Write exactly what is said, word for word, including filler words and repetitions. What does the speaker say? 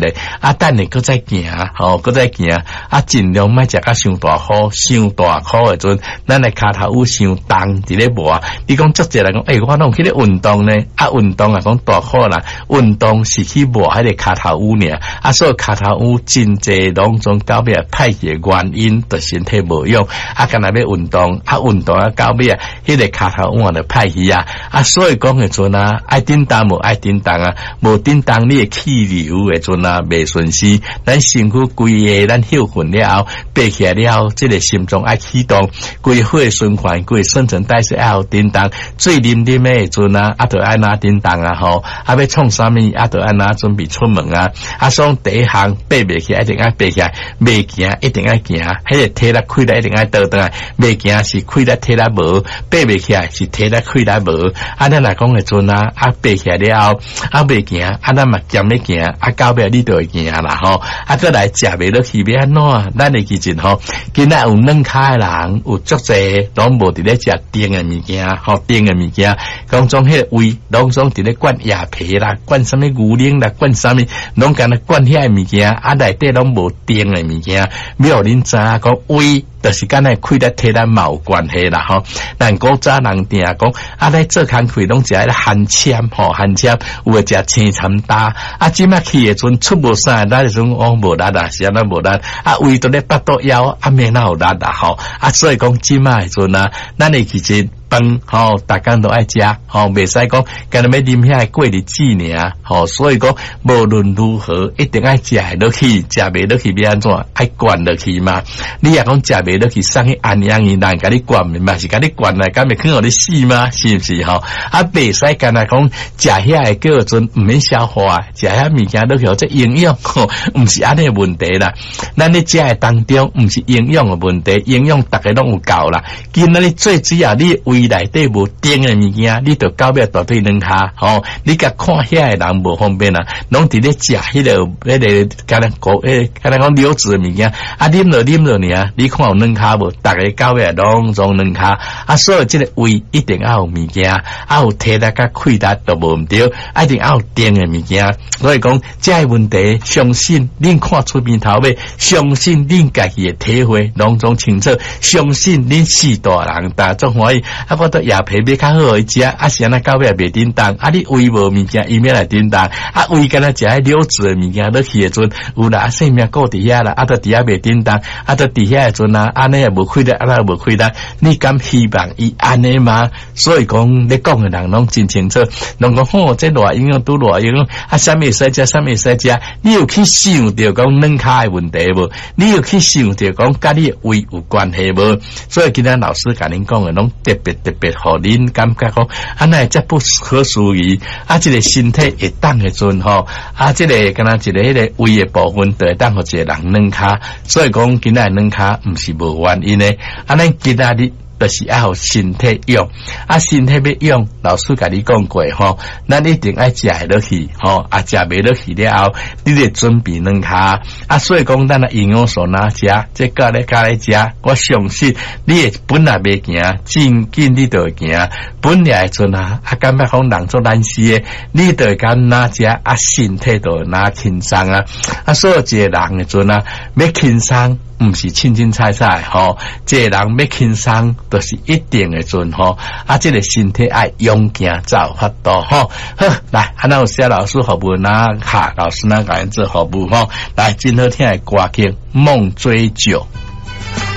個，啊，等下閣再行，吼，閣再行，啊，盡量莫食甲傷大苦，傷大苦的陣，咱的跤頭趺傷重，佇咧磨。你講足濟人講，欸，我攏有去咧運動呢，啊，運動啊講大苦啦，運動是去磨彼个跤頭趺爾，啊，所以跤頭趺真濟攏總到尾歹去的原因，就身體無用，啊，干焦欲運動，啊，運動啊到尾啊，彼个跤頭趺就歹去啊，啊，所以講的陣啊，愛振動無愛振動啊，無振動你的氣流的陣啊，袂順勢，咱身軀規个咱歇睏了後，爬起來了後，這個心臟愛啟動，規個血循環，規個新陳代謝愛有振動，水啉啉的陣啊，啊，就愛哪振動啊吼，啊，欲創啥物啊，就愛哪準備出門啊，啊，所以第一項爬袂起來，一定愛爬起來，袂行一定愛行，彼個體力氣力一定愛倒轉來，袂行是氣力體力無，爬袂起來是體力氣力無，啊，咱若講的陣啊，啊，爬起來了後，啊，袂行，啊，咱嘛兼咧行，啊，到尾你就會行啦吼，啊，閣來食袂落去欲按怎？咱會記住吼，今仔有軟跤的人有足濟，攏無佇咧食甜的物件，吼，甜的物件，講總彼個胃攏總佇咧灌椰皮啦，灌啥物牛奶啦，灌啥物，攏干焦灌遐个物件，啊，內底攏無甜的物件，欲予恁知影講胃。就是敢若氣力體力嘛有關係啦吼。咱古早人定講，啊，咧做工課攏食彼个番攕吼，番攕有的食青參焦。啊，這擺去的陣出無啥，咱時陣講無力啊，是按怎無力？啊，胃都咧腹肚枵，啊，免哪有力啊吼。啊，所以講這擺的陣啊，咱會記得飯吼，逐工都愛食吼，袂使講干焦欲啉遐个過日子爾吼。所以講無論如何，一定愛食會落去，食袂落去欲按怎？愛灌落去嘛。你若講食袂落去，送去安養院，人共你灌嘛是共你灌來，敢會肯予你死嗎？是毋是吼？啊，袂使干焦講食遐个叫做毋免消化，食遐物件落去予這營養吼，毋是按呢問題啦。咱咧食的當中，毋是營養的問題，營養逐个攏有夠啦。今仔日最主要，你胃內底無甜的物件，你就到尾大腿軟跤吼。你共看遐个人無方便啊，攏佇咧食彼个彼个，敢若講，彼敢若講流質的物件，啊，啉落啉落爾，你看有軟跤無？逐个到尾攏總軟跤，啊，所以這个胃一定愛有物件，啊有體力佮氣力都無毋對，一定愛有甜的物件。所以講，這个問題，相信恁看出邊頭尾，相信恁家己的體會攏總清楚，相信恁四大人大足歡喜。啊，我都椰皮買較好予伊食，啊是按怎到尾也袂振動，啊你胃無物件，伊欲來振動，啊胃干焦食彼流質的物件落去的陣，有啦，啊性命顧佇遐啦，啊都佇遐袂振動，啊都佇遐的陣啊，按呢也無氣力，按呢無氣力，你敢希望伊按呢嗎？所以講，咧講的人攏真清楚，攏講吼，這偌營養拄偌營養，啊，啥物會使食，啥物會使食，你有去想著講軟跤的問題無？你有去想著講佮你的胃有關係無？所以今仔老師共恁講的攏特別特別，予恁感覺講，啊哪會遮不可思議？啊，這個身體會當的陣吼，啊，這個敢若一个彼个胃的部分，就會當予一個人軟跤。所以講今仔軟跤毋是無原因的。啊，咱今仔日就是愛予身體養，啊，身體欲養，老師共你講過吼，咱一定愛食會落去吼，啊，食袂落去了後，你得準備軟跤，啊，所以講咱的營養素哪食，這教咧教咧食，我相信你會本來袂行，真緊你就會行。本來的陣啊，啊，感覺講人做懶死的，你就會敢哪食，啊，身體就會哪輕鬆啊，啊，所以一個人的陣啊，欲輕鬆。毋是凊凊彩彩吼，這個人欲輕鬆，就是一定的陣吼。啊，這個身體愛勇健才有法度吼。好，來，啊，咱有謝老師服務哪卡老師哪共做服務吼。來，真好聽的歌曲《夢追酒》。